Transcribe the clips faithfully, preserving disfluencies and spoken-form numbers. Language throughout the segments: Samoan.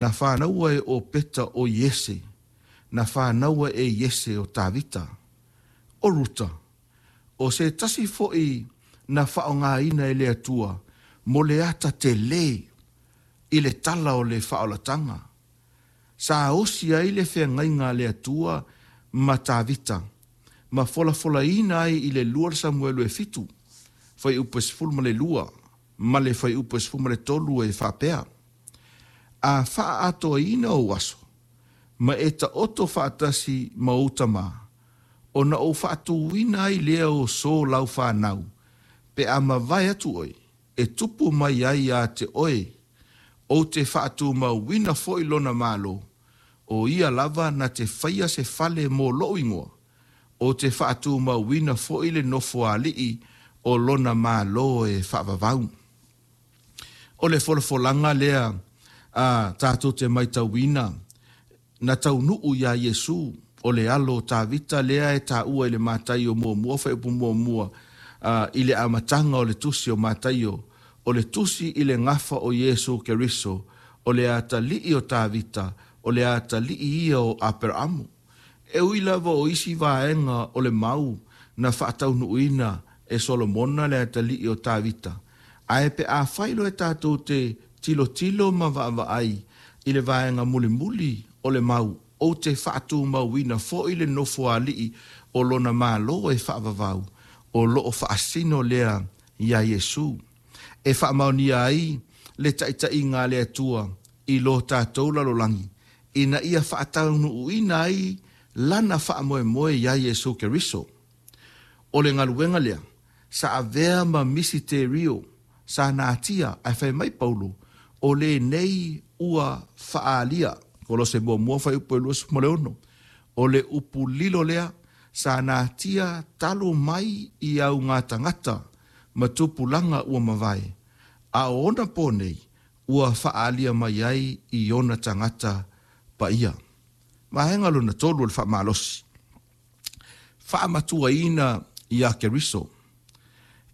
Na fanaua e Opeta o Iese, na fanaua e Iese o Tavita. O Ruta, o se tasi fo'i na faaaogaina e le Atua mo le ata telē i le tala o le faaolataga. Sa osi ai le feagaiga a le Atua ma Tavita, ma folafolaina ai i le lua Samuelu e fitu, fuaiupu e sefulu ma le lua, ma le fuaiupu e sefulu ma le tolu e faapea, A faaatoaina ou aso, ma e taoto faatasi ma ou tamā, ona ou faatuina ai lea o so lau fanau, pe a mavae atu oe, e tupu mai ai ia te oe, ou te faatumauina foi lona malo, o ia lava na te faia se fale mo lou igoa, ou te faatumauina foi le nofoalii o lona malo e faavavau. O le folafolaga lea a tatou te matauina na taunuu iā Iesu, o le alo o Tavita lea e taua i le Mataio muamua fuaiupu muamua i le amataga o le tusi o Mataio, o le tusi i le gafa o Iesu Keriso, o le atalii o Tavita, o le atalii ia o Aperaamu. E ui lava o isi vaega o le mau na faataunuuina e Solomona le atalii o Tavita, ae pe afai loa tatou te tilotilo ma vaavaai i le vaega mulimuli o le mau, ou te faatumauina foi le nofoalii o lona malo e faavavau, o loo faasino lea iā Iesu. E faamaonia ai le taitaiga a le Atua i lo tatou lalolagi, ina ia faataunuuina ai lana faamoemoe iā Iesu Keriso. O le galuega lea, sa avea ma misiterio sa natia, ae fai mai Paulo, o lenei ua faaalia, Kolose muamua fuaiupu e luasefulu ma le ono. O le upu lilo lea, sa natia talu mai i auga tagata ma tupulaga ua mavae, a o ona po nei, ua faaalia mai ai i ona tagata paia. Vaega lona tolu o le faamalosi. Faamatuaina iā Keriso.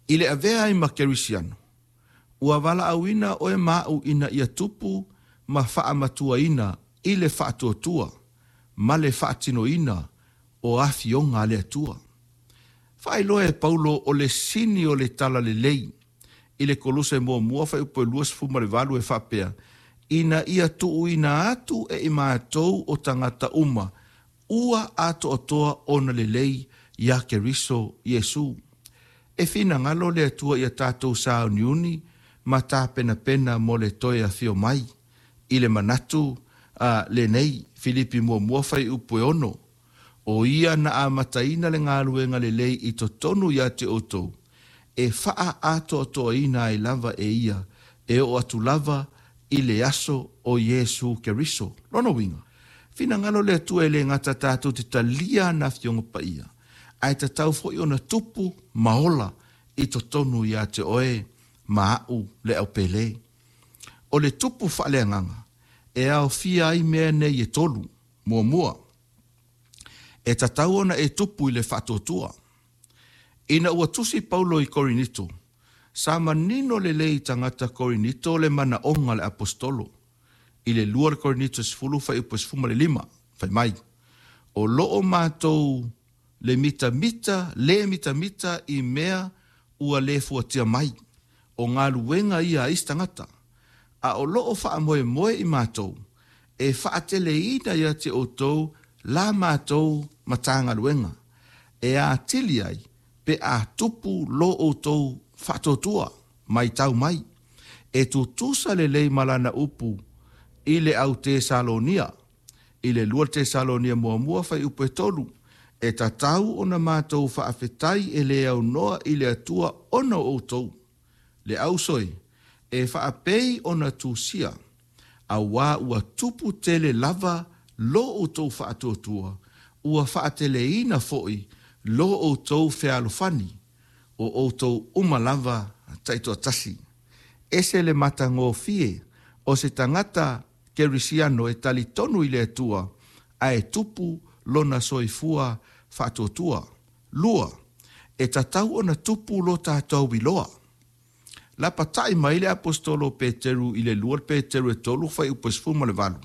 I le avea ai ma Kerisiano, ua valaauina oe ma au ina ia tupu ma faamatuaina i le faatuatua ma le faatinoina o afioga a le Atua. Faailoa e Paulo o le sini o le talalelei i le Koluse muamua fuaiupu e luasefulu ma le valu e faapea, ina ia tuuina atu e i matou o tagata uma ua atoatoa ona lelei iā Keriso Iesu. E finagalo le Atua ia tatou sauniuni ma tapenapena mo le toe afio mai i le manatu a lenei, Filipi muamua fuaiupu e ono, o ia na amataina le galuega lelei i totonu ia te outou, e faaatoatoaina ai lava e ia, e oo atu lava i le aso o Iesu Keriso. Lona uiga, finagalo le Atua e le gata tatou te talia ana afioga paia, ae tatau foi ona tupu ma ola i totonu ia te oe ma au le aupele. O le tupu faaleagaga e aofia ai mea nei e tolu. Muamua, e tatau ona e tupu i le faatuatua. Ina ua tusi Paulo i Korinito, sa manino lelei i tagata Korinito le manaoga o le aposetolo. I le lua o le Korinito sefulu fuaiupu e sefulu ma le lima, fai mai, o loo matou le mitamita, le mitamita i mea ua le fuatia mai, o galuega ia a isi tagata, a o loo faamoemoe i matou, e faateleina ia te outou la matou matagaluega, e atili ai pe a tupu lo outou faatuatua, matau mai, e tutusa lelei ma lana upu i le au Tesalonia, i le lua Tesalonia muamua fuaiupu e tolu, e tatau ona matou faafetai e le aunoa i le Atua ona o outou, le ausoi, e faapei ona tusia, auā ua tupu tele lava lo outou faatuatua, ua faateleina foi lo outou fealofani, o outou uma lava taitoatasi. Ese le matagofie o se tagata kerisiano e talitonu i le Atua, ae tupu lona soifua faatuatua. Lua, e tatau ona tupu lo tatou iloa. Lapata'i mai le Aposetolo o Peteru i le lua Peteru e tolu fuaiupu e sefulu ma le valu.